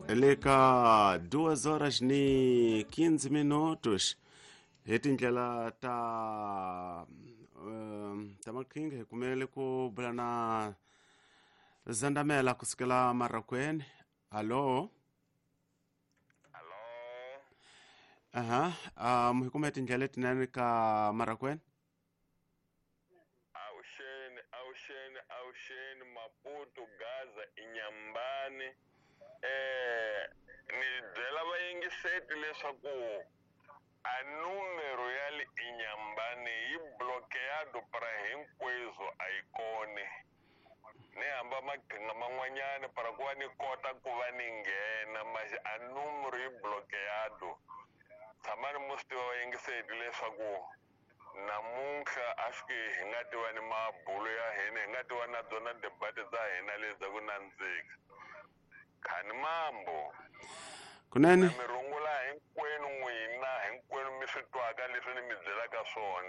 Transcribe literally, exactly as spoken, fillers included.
Le ka duas horas ni quinze minutos hi tindlela ta um, ta maqhinga hi kumele ku bula na Zandamela kusukela Marakweni. Allo? Allo? Aha, um hi kume tindlela letinene ka Marakweni. Awuxeni, awuxeni, awuxeni, Maputo, Gaza, Inyambani. Eh ni byela vayingiseti leswaku a numero ya le Inyambani yi bloqueado para hinkweswo, a yi koni. Ni hamba maqhinga man'wanyana para ku va ni kota ku va ni nghena manje a numero yi bloqueado. Tshamani mo swi tiva vayingiseti leswaku namuntlha a swi ke hi nga tiva ni mabulo ya hina, hi nga tiva na byona debate bya hina lebyi ku nandzika. Khani mambo. Kunene. Na mi rungula hinkwenu n'wina, hinkwenu mi swi twaka leswi ni mi byelaka swona.